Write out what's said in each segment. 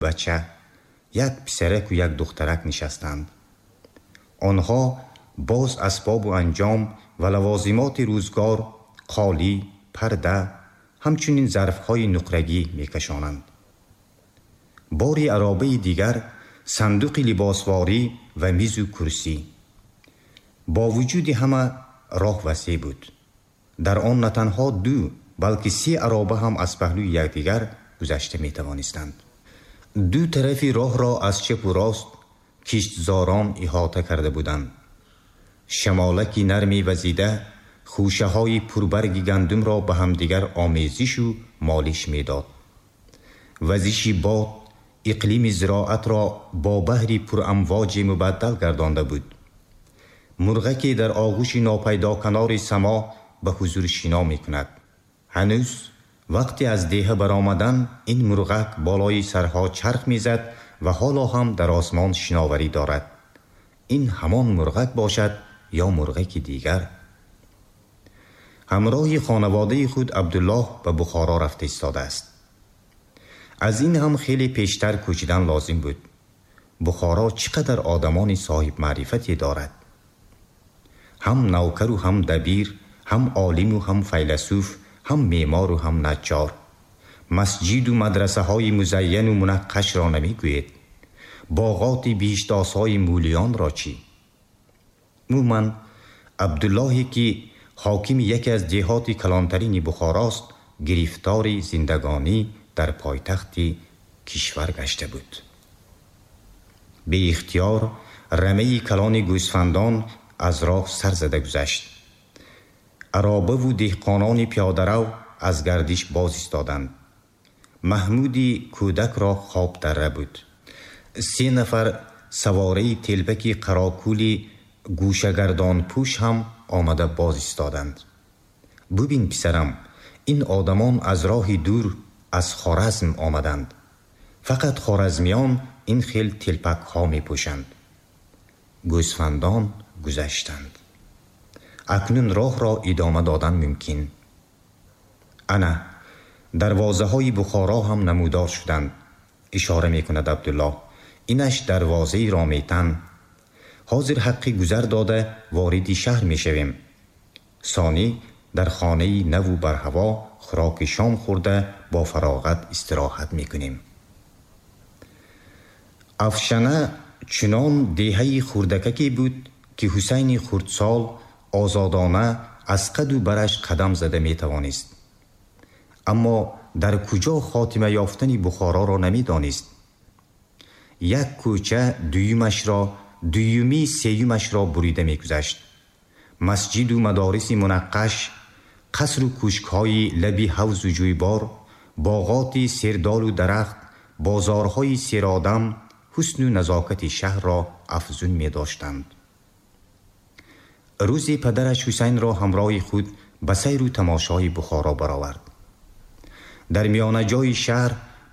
Бача, як писараку як духтарак нишастанд. Онҳо боз асбобу анҷом ва лавозимоти рӯзгор, қолӣ, парда, ҳамчунин зарфҳои нуқрагӣ мекашонанд. Бори аробаи дигар сандуқи либосворӣ ва мизу курсӣ. Бо вуҷуди ҳама, роҳ васеъ буд. Дар он на танҳо ду, балки се ароба ҳам аз паҳлӯи якдигар гузашта метавонистанд. Ду тарафи роҳро аз чапу рост киштзорон иҳота карда буданд. Шамолаки нарме вазида хӯшаҳои пурбарги гандумро ба ҳамдигар омезишу молиш медод. Вазиши бод иқлими зироатро бо баҳри пурамвоҷе мубаддал гардонда буд. Мурғаке дар оғӯши нопайдоканори само ба ҳузур шино мекунад. Ҳанӯз вақте аз деҳа баромадан, ин мурғак болои сарҳо чарх мезад ва ҳоло ҳам дар осмон шиноварӣ дорад. Ин ҳамон мурғак бошад ё мурғаки дигар? Ҳамроҳи хонаводаи худ Абдуллоҳ ба Бухоро рафта истодааст. Аз ин ҳам хеле пештар кӯчидан лозим буд. Бухоро чӣ қадар одамони соҳибмаърифате дорад! Ҳам навкару ҳам дабир, ҳам олиму ҳам файласуф, ҳам меъмору ҳам наҷҷор. Масҷиду мадрасаҳои музайяну мунаққашро намегӯед. Боғоти биҳиштосои мӯлиёнро чӣ? Умуман, Абдуллоҳе, ки ҳокими яке аз деҳоти калонтарини Бухорост, гирифтори зиндагонӣ дар пойтахти кишвар гашта буд. Беихтиёр рамаи калони гӯсфандон аз роҳ сар зада гузашт. Аробаву деҳқонони пиёдарав аз гардиш боз истоданд. Маҳмуди кӯдакро хоб дарра буд. Се нафар савораи телпаки қарокӯли гӯшагардонпӯш ҳам омада боз истоданд. Бубин, писарам, ин одамон аз роҳи дур, аз Хоразм омаданд. Фақат хоразмиён ин хел телпакҳо мепӯшанд. Гӯсфандон гузаштанд. Акнун роҳро идома додан мумкин. Ана дарвозаҳои Бухоро ҳам намудор шуданд, ишора мекунад Абдуллоҳ. Инаш дарвозаи Рометан. Ҳозир ҳаққи гузар дода, вориди шаҳр мешавем. Сонӣ дар хонаи наву барҳаво хӯроки шом хӯрда, бо фароғат истироҳат мекунем. Афшана чунон деҳаи хурдакаке буд, ки Ҳусайни хурдсол озодона аз қаду бараш қадам зада метавонист, аммо дар куҷо хотима ёфтани Бухороро намедонист. Як кӯча дуюмашро, дуюмӣ сеюмашро бурида мегузашт. Масҷиду мадориси мунаққаш, қасру кӯшкҳои лаби ҳавзу ҷӯйбор, боғоти сердолу дарахт, бозорҳои серодам ҳусну назокати шаҳрро афзун медоштанд. Рӯзе падараш Ҳусайнро ҳамроҳи худ ба сайру тамошои Бухоро баровард. Дар миёнаҷои шаҳр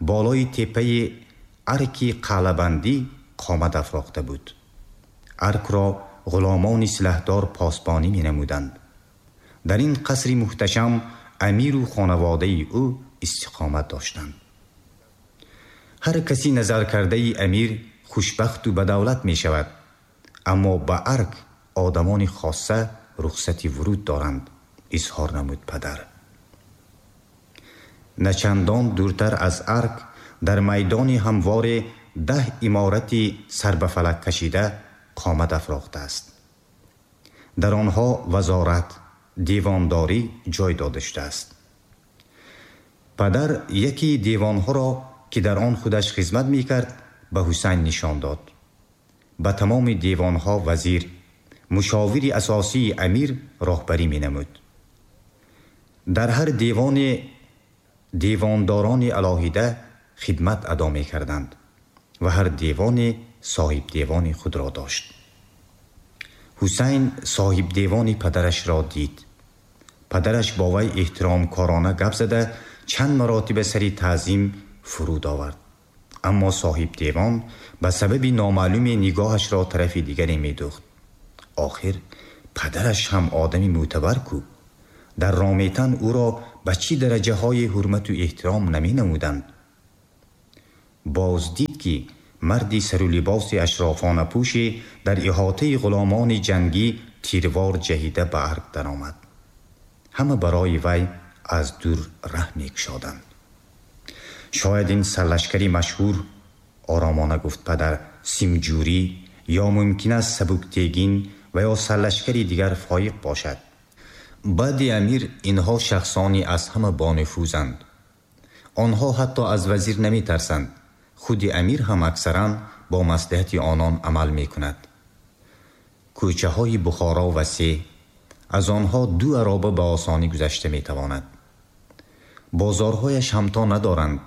болои теппаи арки қалъабандӣ қомат афрохта буд. Аркро ғуломони силаҳдор посбонӣ менамуданд. Дар ин қасри муҳташам амиру хонаводаи ӯ истиқомат доштанд. Ҳар каси назаркардаи амир хушбахту бадавлат мешавад, аммо ба арк одамони хосса рухсати вуруд доранд, изҳор намуд падар. Начандон дуртар аз арк, дар майдони ҳамворе, 10 иморати сар ба фалак кашида қомат афрохтааст. Дар онҳо вазорат, девондорӣ ҷой дода шудааст. Падар яке девонҳоро, ки дар он худаш хизмат мекард, ба Ҳусайн нишон дод. Ба тамоми девонҳо вазир, мушовири асосии амир, роҳбарӣ менамуд. Дар ҳар девоне девондорони алоҳида хидмат адо мекарданд ва ҳар девоне соҳибдевони худро дошт. Ҳусайн соҳибдевони падарашро дид. Падараш бо вай эҳтиромкорона гап зада, чанд маротиба сари таъзим фуруд овард, аммо соҳибдевон ба сабаби номаълуме нигоҳашро тарафи дигаре медӯхт. Охир падараш ҳам одами мӯътабар ку! Дар Рометан ӯро ба чӣ дараҷаҳои ҳурмату эҳтиром наменамуданд! Боз дид, ки марди сару либоси ашрофонапӯше дар иҳотаи ғуломони ҷангӣ тирвор ҷаҳида ба арг даромад. Ҳама барои вай аз дур раҳ мекушоданд. Шояд ин сарлашкари машҳур, оромона гуфт падар, Симҷурӣ ё мумкин аст Сабуктегин ва ё сарлашкари дигар фоиқ бошад. Баъди амир инҳо шахсони аз ҳама бонуфузанд. Онҳо ҳатто аз вазир наметарсанд. Худи амир ҳам аксаран бо маслиҳати онон амал мекунад. Кӯчаҳои Бухоро васеъ, аз онҳо ду ароба ба осонӣ гузашта метавонад. Бозорҳояш ҳамто надоранд.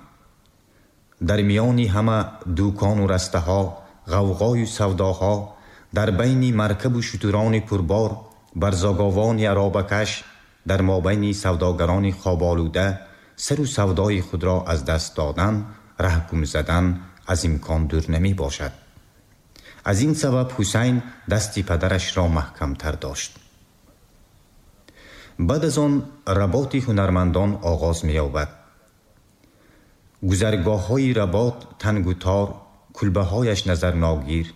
Дар миёни ҳама дукону растаҳо, ғавғою савдоҳо, дар байни маркабу шутурони пурбор, барзоговони аробакаш, дар мобайни савдогарони хоболуда сару савдои худро аз даст додан, раҳ гум задан аз имкон дур намебошад. Аз ин сабаб Ҳусайн дасти падарашро маҳкамтар дошт. Баъд аз он работи ҳунармандон оғоз меёбад. Гузаргоҳҳои работ тангу тор, кулбаҳояш назарногир.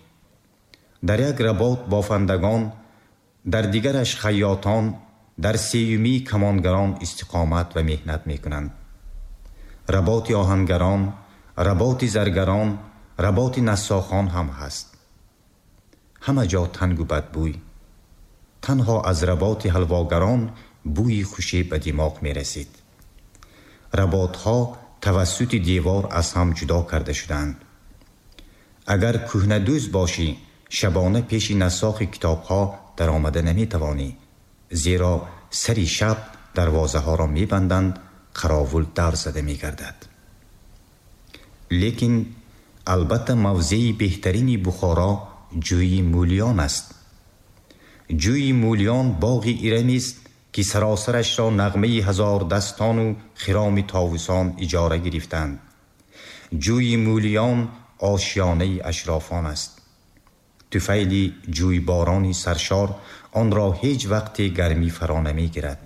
Дар як работ бофандагон, дар дигараш хайётон, дар сеюмӣ камонгарон истиқомат ва меҳнат мекунанд. Работи оҳангарон, работи заргарон, работи нассохон ҳам ҳаст. Ҳама ҷо тангу бадбӯй. Танҳо аз работи ҳалвогарон бӯи хуше ба димоғ мерасид. Работҳо тавассути девор аз ҳам ҷудо карда шудаанд. Агар кӯҳнадӯз бошӣ, шабона пеши нассохи китобҳо даромада наметавонӣ, зеро сари шаб дарвозаҳоро мебанданд, қаровул давр зада мегардад. Лекин албатта мавзеи беҳтарини Бухоро ҷӯйи Мӯлиён аст. Ҷӯйи Мӯлиён боғи Ирамист, ки саросарашро нағмаи ҳазордастону хироми товусон иҷора гирифтанд. Ҷӯйи Мӯлиён ошёнаи ашрофон аст. Туфайли ҷӯйборони саршор онро ҳеҷ вақте гармӣ фаро намегирад.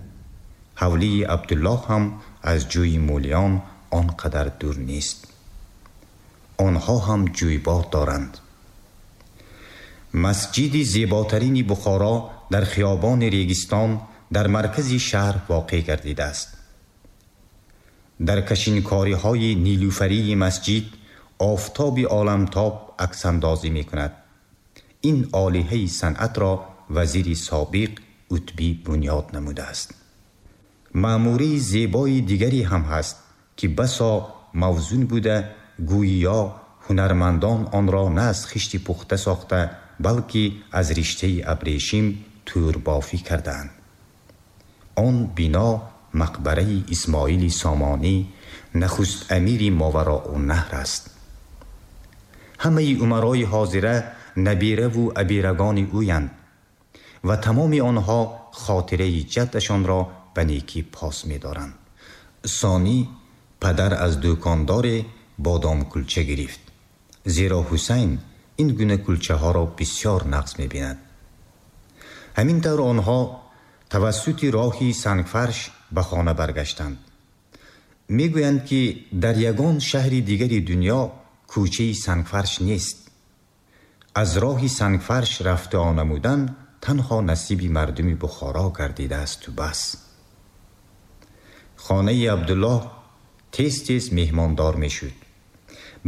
Ҳавлии Абдуллоҳ ҳам аз ҷӯйи Мӯлиён он қадар дур нест. Онҳо ҳам ҷӯйбор доранд. Масҷиди зеботарини Бухоро дар хиёбони Регистон дар маркази шаҳр воқеъ гардидааст. Дар кашинкориҳои нилуфарии масҷид офтоби оламтоб аксандозӣ мекунад. Ин олиҳаи санъатро вазири собиқ Утбӣ бунёд намудааст. Маъмурии зебои дигаре ҳам ҳаст, ки басо мавзун буда, гӯё ҳунармандон онро на аз хишти пухта сохта, балки аз риштаи абрешим тӯрбофӣ кардаанд. Он бино мақбараи Исмоили Сомонӣ, нахуст амири Мовароуннаҳр аст. Ҳамаи умарои ҳозира набираву абирагони ӯянд ва тамоми онҳо хотираи ҷаддашонро ба некӣ пос медоранд. Сонӣ падар аз дӯкондоре бодомкулча гирифт, зеро Ҳусайн ин гуна кулчаҳоро бисёр нағз мебинад. Ҳамин тавр онҳо тавассути роҳи сангфарш ба хона баргаштанд. Мегӯянд, ки дар ягон шаҳри дигари дунё кӯчаи сангфарш нест. Аз роҳи сангфарш рафта намудан танҳо насиби мардуми Бухоро гардидаасту бас. Хонаи Абдуллоҳ тез тез меҳмондор мешуд.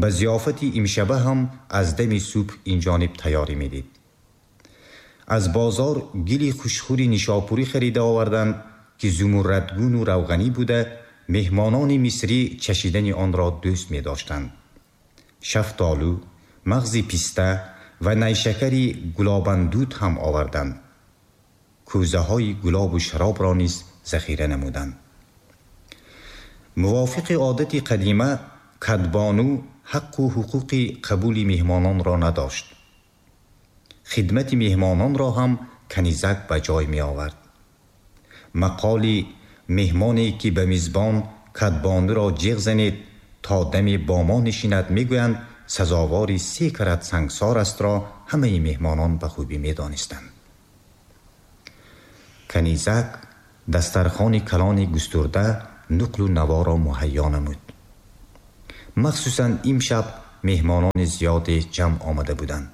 Ба зиёфати имшаба ҳам аз дами субҳ инҷониб тайёрӣ медид. Аз бозор гили хушхӯри нишопурӣ харида оварданд, ки зумуррадгуну равғанӣ буда, меҳмонони мисрӣ чашидани онро дӯст медоштанд. Шафтолу, мағзи писта ва найшакари гулобандуд ҳам оварданд. Кӯзаҳои гулобу шаробро низ захира намуданд. Мувофиқи одати қадима, кадбону ҳаққу ҳуқуқи қабули меҳмононро надошт. Хидмати меҳмононро ҳам канизак ба ҷой меовард. Мақоли меҳмоне, ки ба мизбон кадбонуро ҷиғ занед то даме бо мо нишинад, мегӯянд, сазовори се карат сангсор астро ҳамаи меҳмонон ба хубӣ медонистанд. Канизак дастархони калони густурда нуқлу наворо муҳайё намуд. Махсусан имшаб меҳмонони зиёде ҷамъ омада буданд.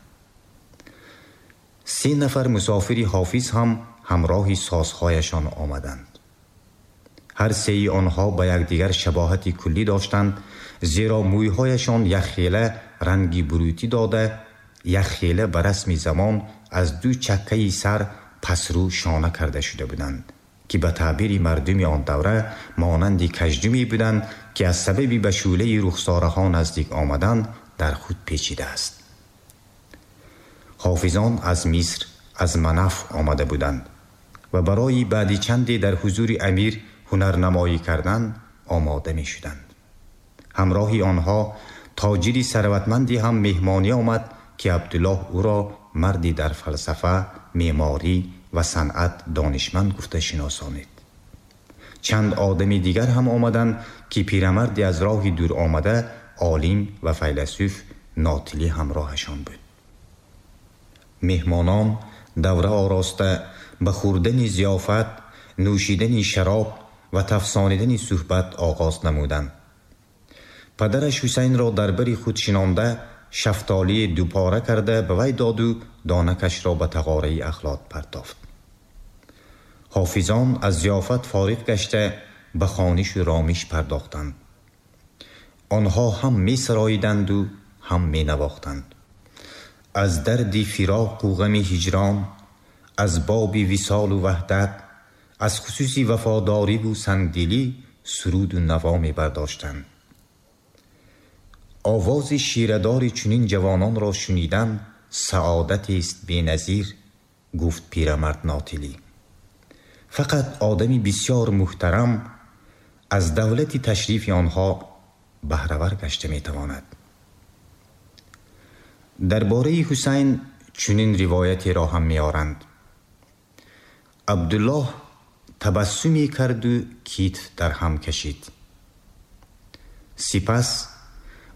Се нафар мусофири Ҳофиз ҳам ҳамроҳи созҳояшон омаданд. Ҳар сеи онҳо ба якдигар шабоҳати куллӣ доштанд, зеро мӯйҳояшон якхела ранги бурутӣ дода, якхела ба расми замон аз ду чаккаи сар пасрӯ шона карда шуда буданд, ки ба таъбири мардуми он давра монанди каждуме буданд, ки аз сабаби ба шӯълаи рухсораҳо наздик омадан дар худ печидааст. Ҳофизон аз Миср, аз Манаф омада буданд ва барои баъди чанде дар ҳузури амир ҳунарнамоӣ кардан омода мешуданд. Ҳамроҳи онҳо тоҷири сарватманде ҳам меҳмонӣ омад, ки Абдуллоҳ ӯро марди дар фалсафа, меъморӣ ва санъат донишманд гуфта шиносонид. Чанд одами дигар ҳам омаданд, ки пирамарде аз роҳи дур омада, олим ва файласуф Нотилӣ ҳамроҳашон буд. Меҳмонон давра ороста ба хӯрдани зиёфат, нӯшидани шароб ва тафсонидани суҳбат оғоз намуданд. Падараш Ҳусайнро дар бари худ шинонда, шафтолии дупора карда ба вай доду донакашро ба тағораи ахлот партофт. Ҳофизон аз зиёфат фориғ гашта ба хонишу ромиш пардохтанд. Онҳо ҳам месароиданду ҳам менавохтанд. Аз дарди фироқу ғами ҳиҷрон, аз боби висолу ваҳдат, аз хусуси вафодориву сангдилӣ суруду наво мебардоштанд. Овози ширадори чунин ҷавононро шунидан саодатест беназир, гуфт пирамард Нотилӣ. Фақат одами бисёр муҳтарам аз давлати ташрифи онҳо баҳравар гашта метавонад. Дар бораи Ҳусайн чунин ривоятеро ҳам меоранд. Абдуллоҳ табассуме карду китф дар ҳам кашид. Сипас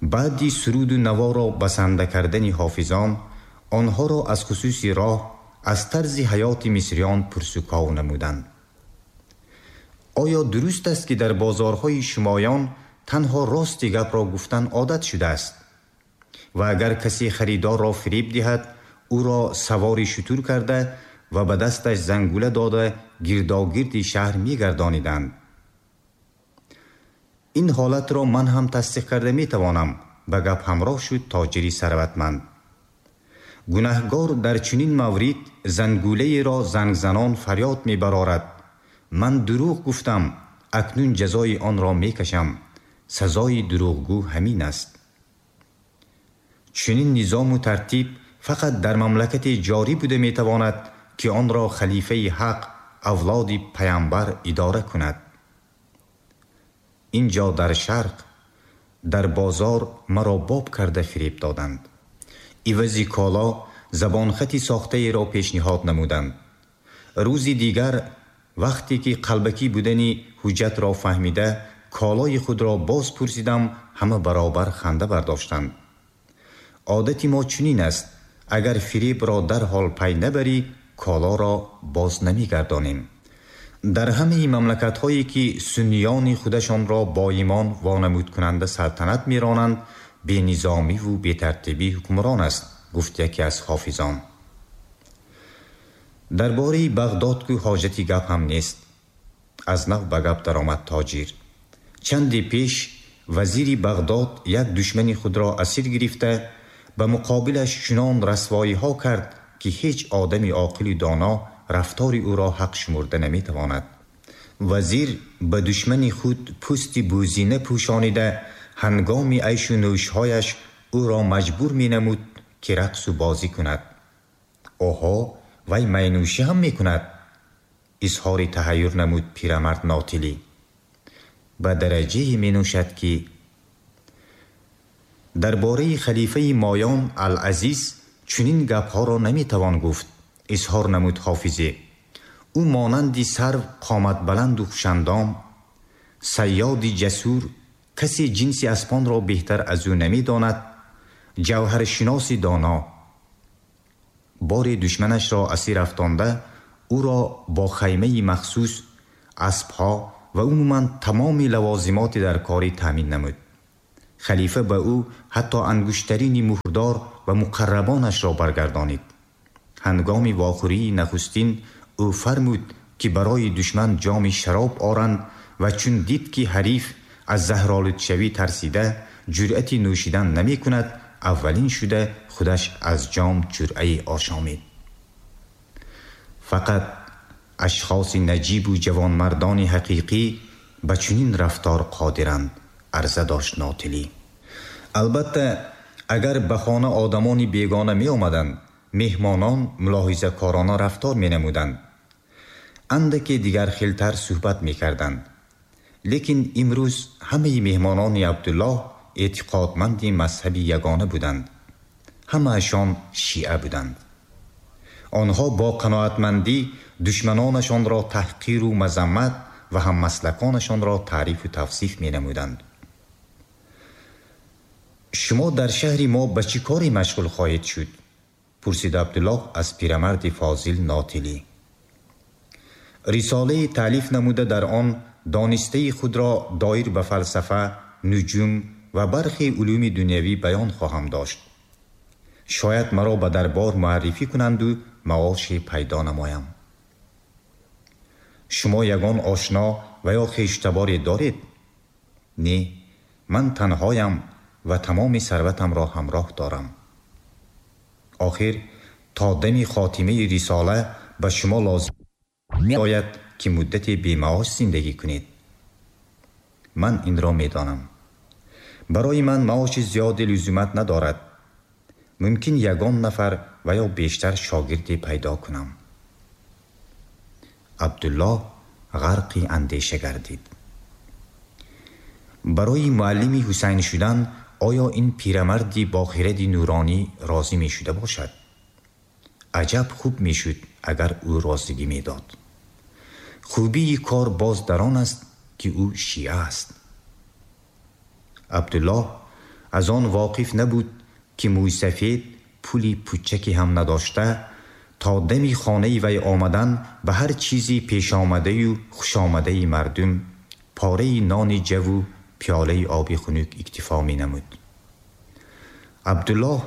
баъди суруду наворо басанда кардани ҳофизон, онҳоро аз хусуси роҳ, аз тарзи ҳаёти мисриён пурсуков намуданд. Оё дуруст аст, ки дар бозорҳои шумоён танҳо рости гапро гуфтан одат шудааст ва агар касе харидорро фиреб диҳад, ӯро савори шутур карда ва ба дасташ зангула дода гирдогирди шаҳр мегардониданд? Ин ҳолатро ман ҳам тасдиқ карда метавонам, ба гап ҳамроҳ шуд тоҷири сарватманд. Гунаҳгор дар чунин маврид зангулаеро зангзанон фарёд мебарорад: ман дурӯғ гуфтам, акнун ҷазои онро мекашам. Сазои дурӯғгӯ ҳамин аст. Чунин низому тартиб фақат дар мамлакате ҷорӣ буда метавонад, ки онро халифаи ҳақ, авлоди паямбар идора кунад. Ин ҷо дар шарқ, дар бозор маро боб карда фиреб доданд. Ивази коло забонхати сохтаеро пешниҳод намуданд. Рӯзи дигар вақте ки қалбакӣ будани ҳуҷҷатро фаҳмида, колои худро боз пурсидам, ҳама баробар ханда бардоштанд. Одати мо чунин аст: агар фиребро дарҳол пай набарӣ, колоро боз намегардонем. Дар ҳамаи мамлакатҳое ки сунниёни худашонро боимон вонамудкунанда салтанат меронанд, бенизомиву бетартибӣ ҳукмрон аст, гуфт яке аз ҳофизон. Дар бораи Бағдод ку ҳоҷати гап ҳам нест. Аз нав ба гап даромад тоҷир. Чанде пеш вазири Бағдод як душмани худро асир гирифта, ба муқобилаш чунон расвоиҳо кард, ки ҳеҷ одами оқилу доно рафтори ӯро ҳақ шумурда наметавонад. Вазир ба душмани худ пӯсти бӯзина пӯшонида, ҳангоми айшу нӯшҳояш ӯро маҷбур менамуд, ки рақсу бозӣ кунад. Оҳо, вай майнӯшӣ ҳам мекунад? Изҳори таҳайюр намуд пирамард Нотилӣ. Ба дараҷае менӯшад, ки дар бораи халифаи моён Ал-Азиз чунин гапҳоро наметавон гуфт, изҳор намуд ҳофизе. Ӯ монанди сарв қоматбаланду хушандом, сайёди ҷасур, касе ҷинси аспонро беҳтар аз ӯ намедонад, ҷавҳаршиноси доно. Боре душманашро асир афтонда, ӯро бо хаймаи махсус, аспҳо ва умуман тамоми лавозимоти дар корӣ таъмин намуд. Халифа ба ӯ ҳатто ангуштарини муҳрдор ва муқаррабонашро баргардонид. Ҳангоми вохӯрии нахустин ӯ фармуд, ки барои душман ҷоми шароб оранд ва чун дид, ки ҳариф аз заҳролудшавӣ тарсида ҷуръати нӯшидан намекунад, аввалин шуда худаш аз ҷом ҷуръае ошомид. Фақат ашхоси наҷибу ҷавонмардони ҳақиқӣ ба чунин рафтор қодиранд, арза дошт Нотилӣ. Албатта, агар ба хона одамони бегона меомаданд, меҳмонон мулоҳизакорона рафтор менамуданд, андаке дигархелтар суҳбат мекарданд. Лекин имрӯз ҳамаи меҳмонони Абдуллоҳ эътиқодманди мазҳаби ягона буданд. Ҳамаашон шиа буданд. Онҳо бо қаноатмандӣ душманонашонро таҳқиру мазаммат ва ҳаммаслаконашонро таърифу тавсиф менамуданд. Шумо дар шаҳри мо ба чӣ коре машғул хоҳед шуд? Пурсид Абдуллоҳ аз пирамарди фозил Нотилӣ. Рисолае таълиф намуда, дар он донистаи худро доир ба фалсафа, нуҷум ва бархе улуми дунявӣ баён хоҳам дошт. Шояд маро ба дарбор муаррифӣ кунанду маоше пайдо намоям. Шумо ягон ошно ва ё хештаборе доред? Не, ман танҳоям ва тамоми сарватамро ҳамроҳ дорам. Охир то дами хотимаи рисола ба шумо лозим меояд, ки муддате бемаош зиндагӣ кунед. Ман инро медонам. Барои ман маоши зиёде лузумат надорад. Мумкин ягон нафар ва ё бештар шогирде пайдо кунам. Абдуллоҳ ғарқи андеша гардид. Барои муаллими Ҳусайн шудан оё ин пирамарди бо хиради нуронӣ розӣ мешуда бошад? Аҷаб хуб мешуд, агар ӯ розигӣ медод. Хубии кор боз дар он аст, ки ӯ шиа аст. Абдуллоҳ аз он воқиф набуд, ки мӯйсафед пули пучаке ҳам надошта, то дами хонаи вай омадан ба ҳар чизи пешомадаю хушомадаи мардум, пораи нони ҷаву пиёлаи оби хунук иктифо менамуд. Абдуллоҳ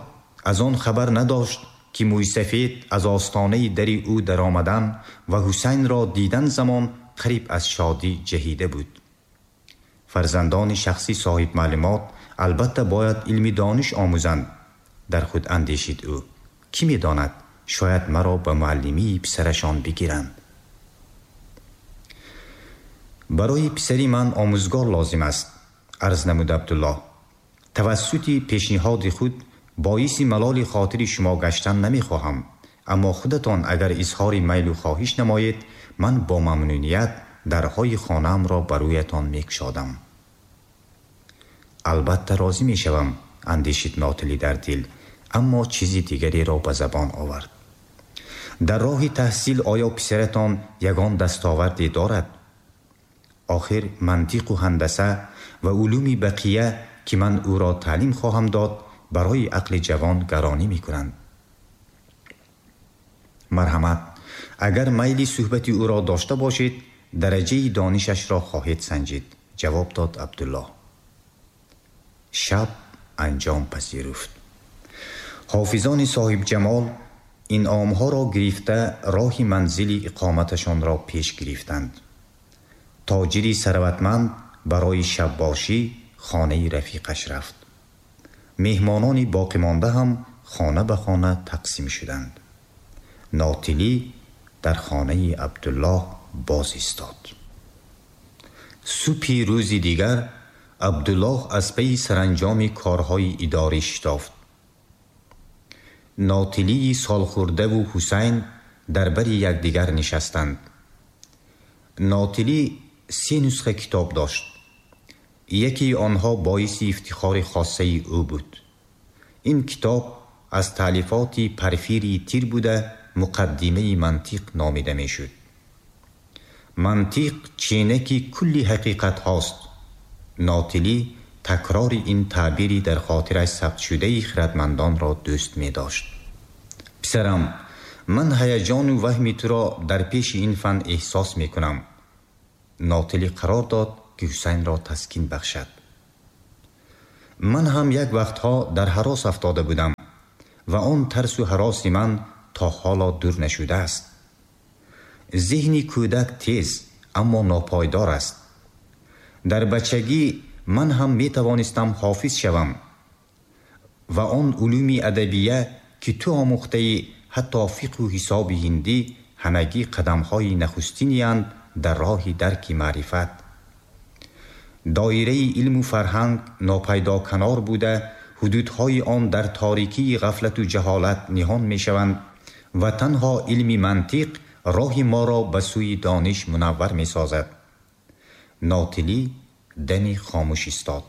аз он хабар надошт, ки мӯйсафед аз остонаи дари ӯ даромадан ва Ҳусайнро дидан замон қариб аз шодӣ ҷаҳида буд. Фарзандони шахси соҳибмаълумот албатта бояд илми дониш омӯзанд, дар худ андешид ӯ. Кӣ медонад, шояд маро ба муаллимии писарашон бигиранд. Барои писари ман омӯзгор лозим аст, арз намуд Абдуллоҳ. Тавассути пешниҳоди худ боиси малоли хотири шумо гаштан намехоҳам, аммо худатон агар изҳори майлу хоҳиш намоед, ман бо мамнуният дарҳои хонаамро ба рӯятон мекушодам. Албатта розӣ мешавам, андешид Нотилӣ дар дил, аммо чизи дигареро ба забон овард. Дар роҳи таҳсил оё писаратон ягон дастоварде дорад? Охир мантиқу ҳандаса ва улуми бақия, ки ман ӯро таълим хоҳам дод, барои ақли ҷавон гаронӣ мекунанд. Марҳамат, агар майли суҳбати ӯро дошта бошед, дараҷаи донишашро хоҳед санҷид, ҷавоб дод Абдуллоҳ. Шаб анҷом пазируфт. Ҳофизони соҳибҷамол инъомҳоро гирифта роҳи манзили иқоматашонро пеш гирифтанд. Тоҷири сарватманд барои шаббошӣ хонаи рафиқаш рафт. Меҳмонони боқимонда ҳам хона ба хона тақсим шуданд. Нотилӣ дар хонаи Абдуллоҳ боз истод. Субҳи рӯзи дигар Абдуллоҳ аз пайи саранҷоми корҳои идорӣ шитофт. Нотилии солхӯрдаву Ҳусайн дар бари якдигар нишастанд. Нотилӣ се нусха китоб дошт. Якеи онҳо боиси ифтихори хоссаи ӯ буд. Ин китоб аз таълифоти Парфирии Тир буда, Муқаддимаи мантиқ номида мешуд. Мантиқ ченаки кулли ҳақиқатҳост. Нотилӣ такрори ин таъбири дар хотираш сабтшудаи хиратмандонро дӯст медошт. Писарам, ман ҳаяҷону ваҳми туро дар пеши ин фан эҳсос мекунам. Нотилӣ қарор дод, ки Ҳусайнро таскин бахшад. Ман ҳам як вақтҳо дар ҳарос афтода будам ва он тарсу ҳароси ман то ҳоло дур нашудааст. Зеҳни кӯдак тез, аммо нопойдор аст. Дар бачагӣ ман ҳам метавонистам ҳофиз шавам ва он улуми адабия, ки ту омӯхтаӣ, ҳатто фиқҳу ҳисоби ҳиндӣ, ҳамагӣ қадамҳои нахустиниянд дар роҳи дарки маърифат. Доираи илму фарҳанг нопайдоканор буда, ҳудудҳои он дар торикии ғафлату ҷаҳолат ниҳон мешаванд ва танҳо илми мантиқ роҳи моро ба сӯи дониш мунаввар месозад. Нотилӣ дами хомӯш истод.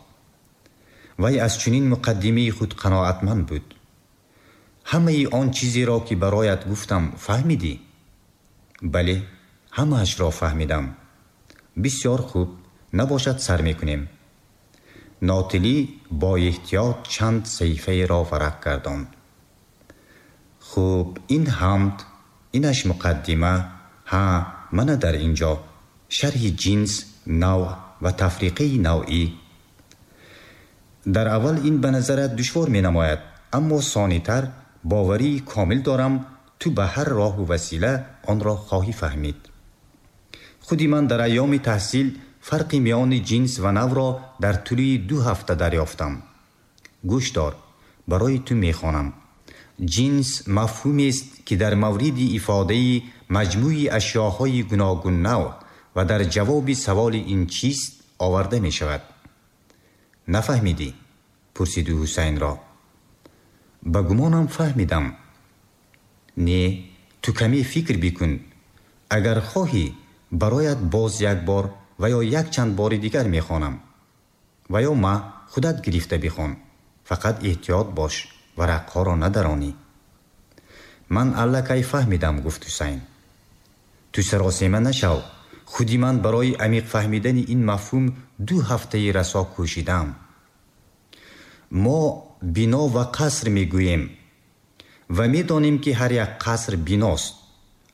Вай аз чунин муқаддимаи худ қаноатманд буд. Ҳамаи он чизеро, ки бароят гуфтам, фаҳмидӣ? Бале, ҳамаашро фаҳмидам. Бисёр хуб, набошад, сар мекунем. Нотилӣ бо эҳтиёт чанд саҳифаеро варақ гардонд. Хуб, ин ҳамд, инаш муқаддима. Ҳа, мана дар ин ҷо шарҳи ҷинс, навъ ва тафриқаи навъӣ. Дар аввал ин ба назарат душвор менамояд, аммо сонитар, боварии комил дорам, ту ба ҳар роҳу васила онро хоҳӣ фаҳмид. Худи ман дар айёми таҳсил фарқи миёни ҷинс ва навъро дар тӯли 2 ҳафта дарёфтам. Гӯш дор, барои ту мехонам. Ҷинс мафҳумест, ки дар мавриди ифодаи маҷмӯи ашёҳои гуногуннавъ ва дар ҷавоби саволи ин чист оварда мешавад. Нафаҳмидӣ? Пурсиду Ҳусайнро. Ба гумонам, фаҳмидам. Не, ту каме фикр бикун. Агар хоҳӣ, бароят боз як бор ва ё якчанд бори дигар мехонам. Ва ё ма, худат гирифта бихон. Фақат эҳтиёт бош, варақҳоро надаронӣ. Ман аллакай фаҳмидам, гуфт Ҳусайн. Ту саросема нашав. Худи ман барои амиқ фаҳмидани ин мафҳум 2 ҳафтаи расо кӯшидаам. Мо бино ва қаср мегӯем ва медонем, ки ҳар як қаср биност,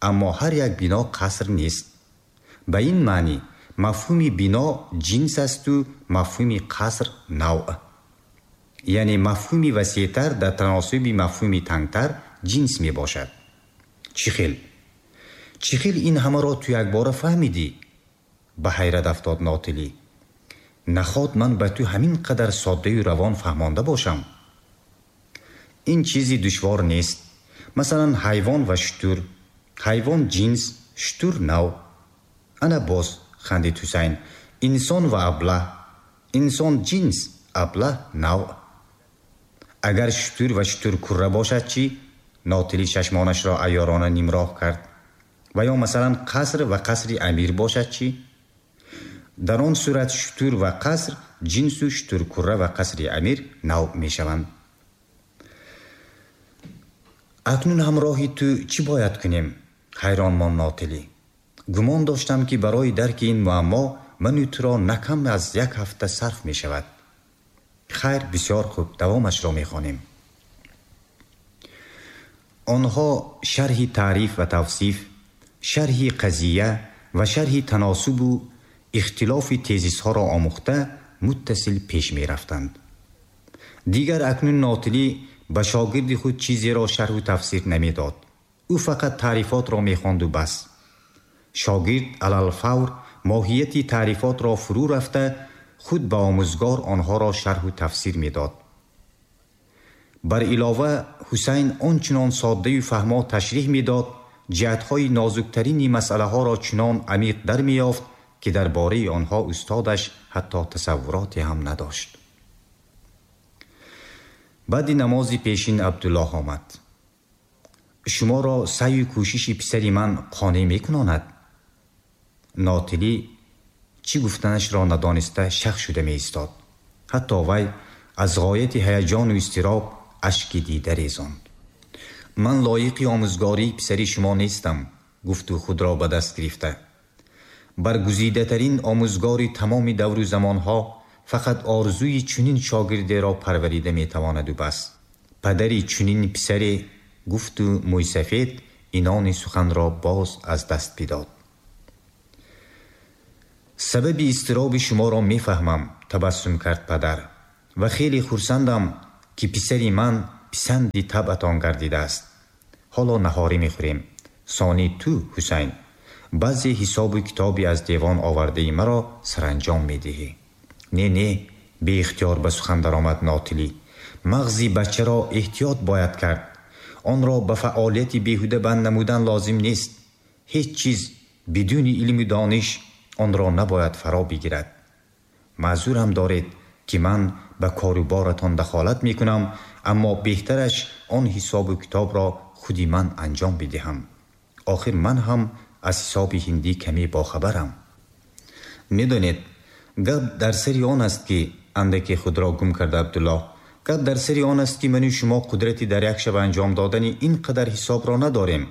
аммо ҳар як бино қаср нест. Ба ин маънӣ мафҳуми бино ҷинс асту мафҳуми қаср навъ. Яъне мафҳуми васеътар дар таносуби мафҳуми тангтар ҷинс мебошад. Чӣ хел? Чӣ хел ин ҳамаро ту якбора фаҳмидӣ? Ба ҳайрат афтод Нотилӣ. Наход ман ба ту ҳамин қадар соддаю равон фаҳмонда бошам? Ин чизи душвор нест. Масалан, ҳайвон ва шутур. Ҳайвон ҷинс, шутур навъ. Ана боз, хандид Ҳусайн, инсон ва аблаҳ. Инсон ҷинс, аблаҳ навъ. Агар шутур ва шутуркурра бошад чӣ? Нотилӣ чашмонашро айёрона нимроҳ кард. Ва ё масалан, қаср ва қасри амир бошад чӣ? Дар он сурат шутур ва қаср ҷинсу шутуркурра ва қасри амир навъ мешаванд. Акнун ҳамроҳи ту чӣ бояд кунем? Ҳайрон монд Нотилӣ. Гумон доштам, ки барои дарки ин муаммо ману туро на кам аз як ҳафта сарф мешавад. Хайр, бисёр хуб, давомашро мехонем. Онҳо шарҳи таъриф ва тавсиф, шарҳи қазия ва шарҳи таносубу ихтилофи тезисҳоро омӯхта, муттасил пеш мерафтанд. Дигар акнун Нотилӣ ба шогирди худ чизеро шарҳу тафсир намедод. Ӯ фақат таърифотро мехонду бас. Шогирд алалфавр моҳияти таърифотро фурӯ рафта, худ ба омӯзгор онҳоро шарҳу тафсир медод. Бар илова, Ҳусайн он чунон соддаю фаҳмо ташриҳ медод, ҷиҳатҳои нозуктарини масъалаҳоро чунон амиқ дар меёфт, ки дар бораи онҳо устодаш ҳатто тасаввуроте ҳам надошт. Баъди намози пешин Абдуллоҳ омад. Шуморо саъю кӯшиши писари ман қонеъ мекунонад? Нотилӣ чӣ гуфтанашро надониста шах шуда меистод. Ҳатто вай аз ғояти ҳаяҷону изтироб ашки дида резонд. Ман лоиқи омӯзгории писари шумо нестам, гуфту худро ба даст гирифта. Баргузидатарин омӯзгори тамоми давру замонҳо фақат орзуи чунин шогирдеро парварида метавонаду бас. Падари чунин писаре, гуфту мӯйсафед инони суханро боз аз даст бидод. Сабаби изтироби шуморо мефаҳмам, табассум кард падар. Ва хеле хурсандам, ки писари ман писанди табъатон гардидааст. Ҳоло наҳорӣ мехӯрем. Сонӣ ту, Ҳусайн, баъзе ҳисобу китоби аз девон овардаи маро саранҷом медиҳӣ. Не, не, беихтиёр ба сухан даромад Нотилӣ. Мағзи бачаро эҳтиёт бояд кард. Онро ба фаъолияти беҳуда банд намудан лозим нест. Ҳеҷ чиз бидуни илму дониш онро набояд фаро бигирад. Маъзурам доред, ки ман ба кору боратон дахолат мекунам, аммо беҳтараш он ҳисобу китобро худи ман анҷом бидиҳам. Охир ман ҳам аз ҳисоби ҳиндӣ каме бохабарам. Медонед, гап дар сари он аст, ки андаке худро гум карда Абдуллоҳ, гап дар сари он аст, ки ману шумо қудрати дар як шаб анҷом додани ин қадар ҳисобро надорем.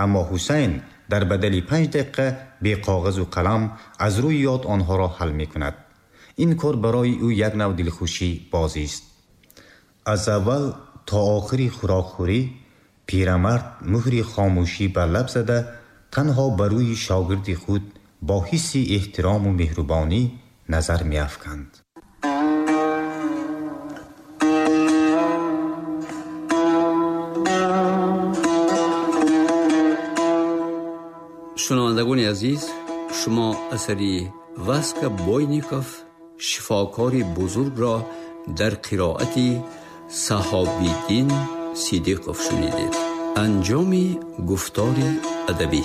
Аммо Ҳусайн дар бадали 5 дақиқа бе коғазу қалам аз рӯи ёд онҳоро ҳал мекунад. Ин кор барои ӯ як нав дилхушӣ бозист. Аз аввал то охири хӯрокхӯрӣ пирамард муҳри хомӯшӣ бар лаб зада, танҳо ба рӯи шогирди худ бо ҳисси эҳтирому меҳрубонӣ назар меафканд. Шунавандагони азиз, шумо асари Васка Бойников шифокори бузургро дар қироати Саҳобиддин Сидиқов шунидед. Анҷоми гуфтори адабӣ.